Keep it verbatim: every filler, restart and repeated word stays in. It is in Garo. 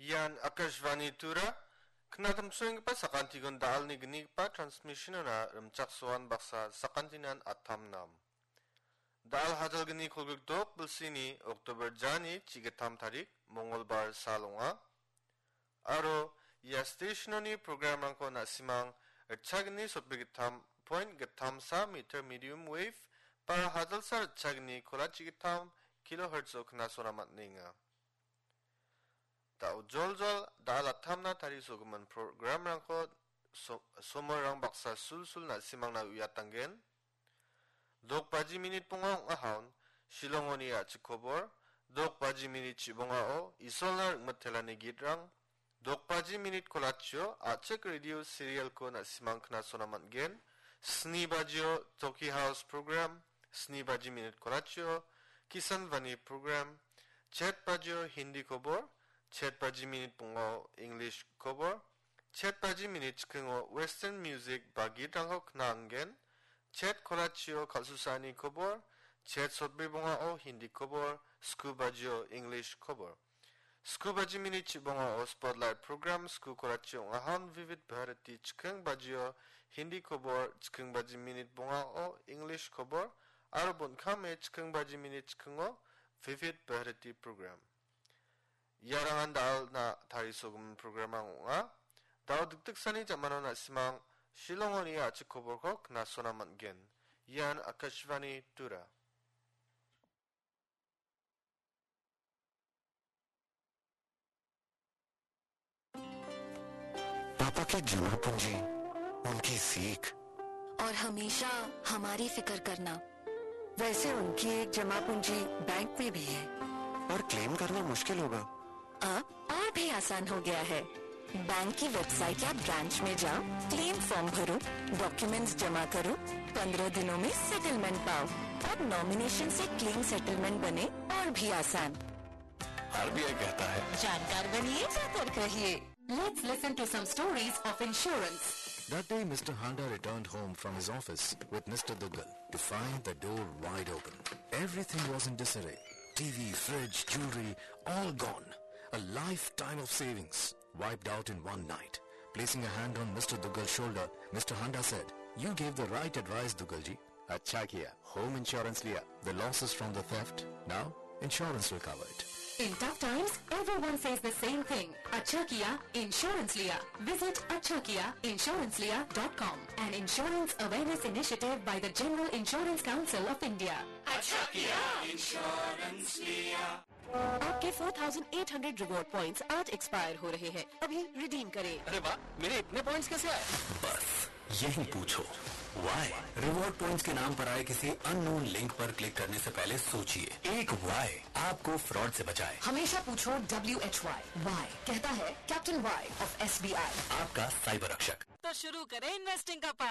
Ian Akashvani Tura, knatamsoenggipa sakantikon da·alni gnigipa transmission-ona rimchaksoan baksa sakantinan atam nam. Da·al hadalgni kolgrikdok bilsini October jani chigitam tarik, Mongolbar sal ong·a. Aro ia station-oni program-rangko na·simang ritchagni sotbri gittam point gittamsa meter medium wave ba hadalsa ritchagni kolachi gittam kilohertz-o knasona man·enga. Da·o joljol da·al atamna tarisogimin program-rangko so-, somorrang baksa sulsul na·simangna uiatanggen. Dok baji minit bonga ong·ahon, Shillongoni a·chik kobor, dok baji minit chibongao, Isolna ringmitelani gitrang, dok baji minit kolachio, a·chik radio serial-ko na·simang knasona man·gen, sni bajio, Toki House program, sni baji minit kolachio, Kisan Vani program, chet bajio, Hindi kobor, chet baji minit bongao, English kobor, chet baji minit chikingo Western music ba gitrangko kna·angen, chet kolachio kal·susani kobor, chet sotbri bongao Hindi kobor, sku bajio English kobor. Sku baji minit chibongao Spotlight program sku kolachio ong·ahon Vivid Bharati chiking bajio Hindi kobor, chiking baji minit bongao English kobor, aro bon·kame chiking baji minit chikingo Vivid Bharati program. Iarangan da·alna tarisogimin program-rang ong·a. Da·o dikdiksani jamano na·simang Shillongoni a·chik koborko knasona man·gen. Ian Akashvani Tura. पापा की जमा पूंजी, उनकी सीख। और हमेशा हमारी फिक्र करना। वैसे उनकी एक जमा पूंजी बैंक में भी है। और क्लेम करना मुश्किल होगा। अब और भी आसान हो गया है। बैंक की वेबसाइट या ब्रांच में जाओ, क्लेम फॉर्म भरो, डॉक्यूमेंट्स जमा करो, पन्द्रह दिनों में सेटलमेंट पाओ। अब नॉमिनेशन से क्लेम सेटलमेंट बने और भी आसान। आरबीआई कहता है, जानकार बनिए, सतर्क रहिए। Let's listen to some stories of insurance. That day, Mister Handa returned home from his office with Mister Duggal to find the door wide open. Everything was in disarray. T V, fridge, jewelry, all gone. A lifetime of savings wiped out in one night. Placing a hand on Mister Duggal's shoulder, Mister Handa said, "You gave the right advice, Duggal ji." अच्छा किया, home insurance लिया। The losses from the theft, now insurance will cover it. In tough times, everyone says the same thing. अच्छा किया, इंश्योरेंस लिया। Visit अच्छा किया इंश्योरेंस लिया dot com, an insurance awareness initiative by the General Insurance Council of India. अच्छा किया इंश्योरेंस लिया। आपके four thousand eight hundred reward points आज एक्सपायर हो रहे हैं, अभी रिडीम करें। अरे वाह, मेरे इतने पॉइंट्स कैसे आए? बस यही पूछो, वाई? रिवॉर्ड पॉइंट्स के नाम पर आए किसी अननोन लिंक पर क्लिक करने से पहले सोचिए। एक वाई आपको फ्रॉड से बचाए। हमेशा पूछो W H Y। वाई कहता है Captain Y of S B I। आपका साइबर रक्षक। तो शुरू करें इन्वेस्टिंग का पाठ।